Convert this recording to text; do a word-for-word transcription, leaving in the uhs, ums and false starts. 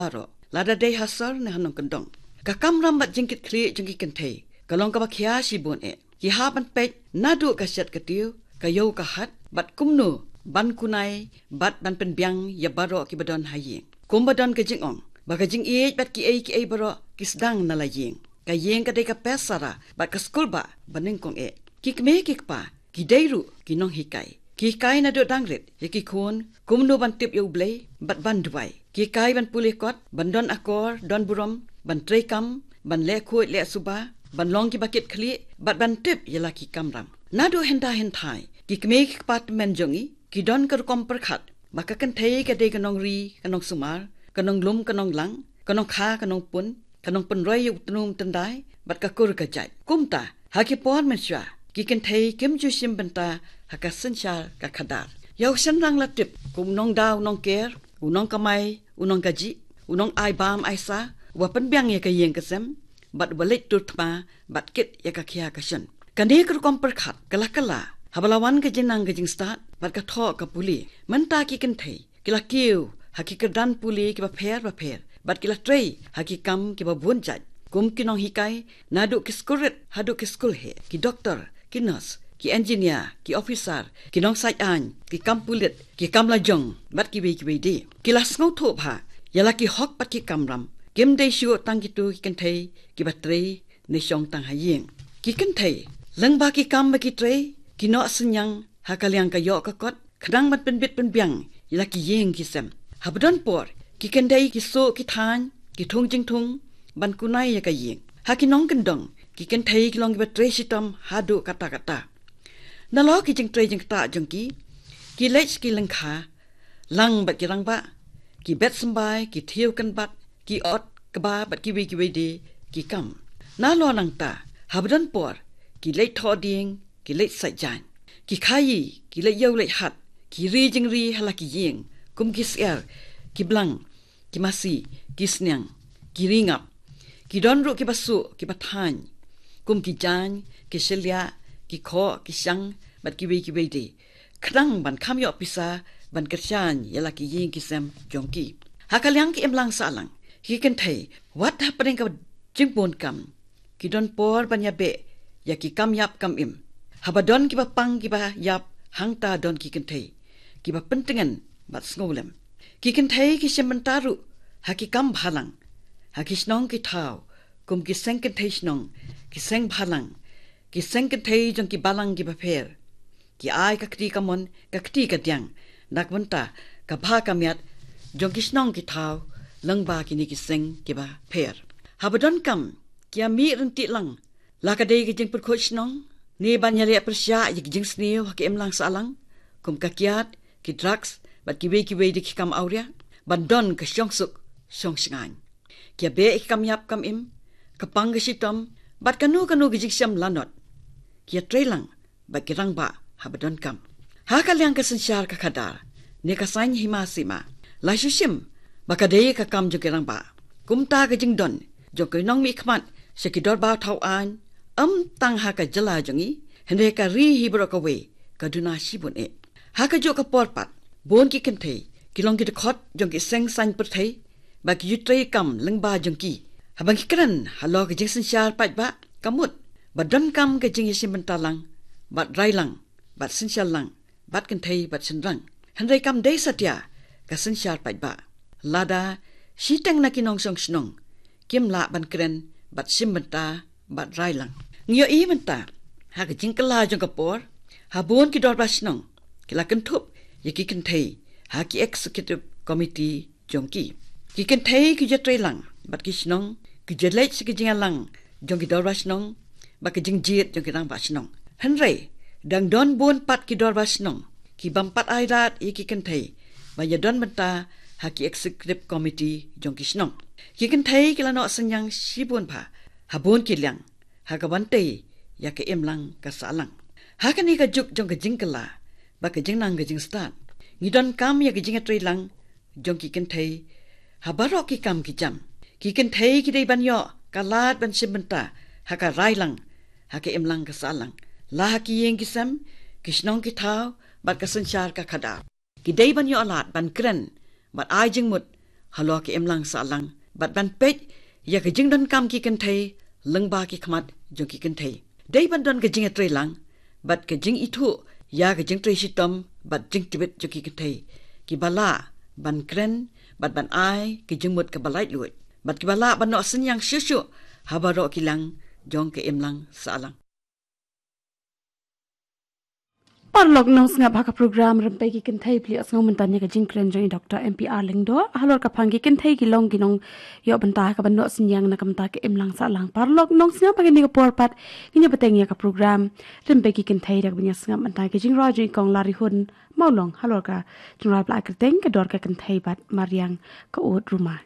baroh, lada dei ha sor ne ha nongkyndong. Ka kamram bad jingkitkhlieh jong ki kynthei ka long kaba khia shibun eh. Ki hap ban peit naduh ka shet ka tiew, ka ïew ka hat, bad kumno ban kunai bad ban pynbiang ïa baroh kiba don ha ïing. Kumba don ka jingong ba ka jingïeit bad kiei kiei baroh ki sdang na la ïing. Ka ïing ka dei ka pes sara bad ka skulbah banyngkong eh. Ki kmie ki kpa ki dei ruh ki nonghikai. Ki hikai naduh dang rit ïa ki khun kumno ban tip ïa U Blei bad ban duwai. Ki hikai ban pule kot, ban don akor, don burom, ban treikam, ban leh khuid leh suba, ban long kiba kitkhlieh bad ban tip ïa la ki kamram. Naduh hynda hynthai ki kmie ki kpa tymmen jong ngi ki don ka rukom pyrkhat ba ka kynthei ka dei ka nongri, ka nongsumar, ka nonglum, ka nonglang, ka nongkha, ka nongpun, ka nongpynroi ïa u tnum tyndai bad ka kur ka jait. Kumta ha ki por mynshuwa ki kynthei kim ju shim bynta ha ka synshar ka khadar. Ïa u shynrang la tip kum u nongdaw, u nongker, u nongkamai, u nongkajih, u nongai bam ai sa, uba pynbiang ïa ka ïing ka sem bad uba leit tur thma bad kit ïa ka khia ka shon. Kane ka rukom pyrkhat ka la kylla haba la wan ka jingnang ka jingstad bad ka thoh ka pule. Mynta ki kynthei ki la kiew ha ki kyrdan pule kiba pher ba pher bad ki la trei ha ki kam kiba bun jait, kum ki nonghikai, naduh ki skulrit haduh ki skulheh, ki doktor, ki nurse, ki engineer, ki officer, ki nongsaid aiñ, ki kam pulit, ki kam lajong bad kiwei kiwei de. Ki la sngewthuh bha ïa la ki hok bad ki kamram. Kim dei shuh tang kito ki kynthei kiba trei ne shong tang ha ïing. Ki kynthei lyngba ki kam ba ki trei ki noh synñiang ha ka liang ka ïoh ka kot khnang ban pynbit pynbiang ïa la ki ïing ki sem. Haba don por ki kynthei ki suh ki thaiñ, ki thung jingthung ban kunai ïa ka ïing. Ha ki nongkyndong ki kynthei ki long kiba trei shitom haduh katta katta. Nalor ki jingtrei jingktah jong ki, ki leit sha ki lyngkha lang bad ki rangbah, ki bet symbai, ki thiew kynbat, ki ot kba bad kiwei kiwei de ki kam. Nalor nangta haba don por ki leit thoh dieng, ki leit said jaiñ, ki khaïi, ki leit ïew leit hat, ki ri jingri ha la ki ïing kum ki syiar, ki blang, ki masi, ki sniang, ki ri ngap. Ki don ruh kiba suh kiba thaiñ kum ki jaiñ, ki shylliah, ki khoh, ki shang bad kiwei kiwei de, khnang ban kham ïoh pisa ban kyrshan ïa la ki ïing ki sem jong ki. Ha ka liang ki imlang sahlang, ki kynthei wat hapdeng ka jingbun kam ki don por ban ïabeh ïa ki kam ïap kam im. Haba don kiba pang kiba ïap, hangta don ki kynthei kiba pyntngen bad sngewlem. Ki kynthei ki shim bynta ruh ha ki kam bhalang, ha ki shnong ki thaw kum ki seng kynthei shnong, ki seng bhalang, ki seng kynthei jong ki balang kiba pher. Ki ai ka kti kamon, ka kti kadiang na ka bynta ka bha ka miat jong ki shnong ki thaw lyngba kine ki seng kiba pher. Haba don kam ki ïamih ryntih lang, la ka dei ka jingpyrkhat shnong ne ban ïaleh pyrshah ïa ki jingsniew ha ka imlang sahlang kum ka kiad, ki drugs bad kiwei kiwei de ki kam awria, ban don ka shongsuk shongshngaiñ. Ki ïabeh ïa ki kam ïap kam im, ka pang ka shitom bad kano kano ka jingshem lanot. Ki ïatrei lang bad ki rangbah haba don kam. Ha ka liang ka synshar ka khadar ne ka saiñ hima sima, la shu shim ba ka dei ka kam jong ki rangbah. Kumta ka jingdon jong ki nongmihkhmat sha ki dorbar thaw aiñ, ym tang ha ka jylla jong ngi, hynrei ka ri hi baroh kawei ka duna shibun eh. Ha kajuh ka por pat bun ki kynthei ki long ki dkhot jong ki seng saiñ pyrthei ba ki ju trei kam lyngba jong ki. Haba ngi kren halor ka jingsynshar paidbah, ka mut ba don kam ka jingïashim bynta lang bad rai lang bad synshar lang bad kynthei bad shynrang. Hynrei kam dei satia ka synshar paidbah. Lada shiteng na ki nongshong shnong kim lah ban kren bad shim bynta bad rai lang. Ngi ïohi mynta ha ka jingkylla jong ka por, ha bun ki dorbar shnong ki la kynthup ïa ki kynthei ha ki executive committee jong ki. Ki kynthei ki ju ïatrei lang bad ki shnong, ki ju leit sha ki jingïalang jong ki dorbar shnong bad ki jingjied jong ki rangbah shnong. Hynrei dang don bun pat ki dorbar shnong ki bym pat ai lad ïa ki kynthei ban ïadon bynta ha ki executive committee jong ki shnong. Ki kynthei ki la noh synñiang shibun bha ha bun ki liang ha ka ban tei ïa ka imlang ka sahlang. Ha kane ka juk jong ka jingkylla bad ka jingnang ka jingstad, ngi donkam ïa ka jingïatrei lang jong ki kynthei ha baroh ki kam ki jam. Ki kynthei ki dei ban ïoh ka lad ban shim bynta ha ka rai lang, ha ka imlang ka sahlang, la ha ki ïing ki sem, ki shnong ki thaw bad ka synshar ka khadar. Ki dei ban ïoh lad ban kren bad ai jingmut halor ka imlang sahlang bad ban peit ïa ka jingdonkam ki kynthei lyngba ki khmat jong ki kynthei. Dei ban don ka jingïatreilang bad ka jingithuh ïa ka jingtrei shitom bad jingtbit jong ki kynthei kiba lah ban kren bad ban ai ka jingmut kaba laitluid bad kiba lah ban noh synñiang shuh shuh ha baroh ki liang jong ka imlang sahlang. Paralok nongsngap, ha ka program Rympei ki Kynthei phi la ïohsngew mynta ïa ka jingkren jong i Doctor M P R Lyngdoh halor ka phang ki kynthei ki long ki nongïoh bynta ha kaban noh synñiang na ka bynta ka imlang sahlang. Paralok nongsngap, ha kane ka por pat ngin ïa bteng ïa ka program Rympei ki Kynthei da kaban ïa sngap mynta ïa ka jingrwai jong i Kong Larihun Mawlong halor ka jingrwai ba la ai kyrteng Ka Dor ka Kynthei bad Mariang ka Ud Ruma.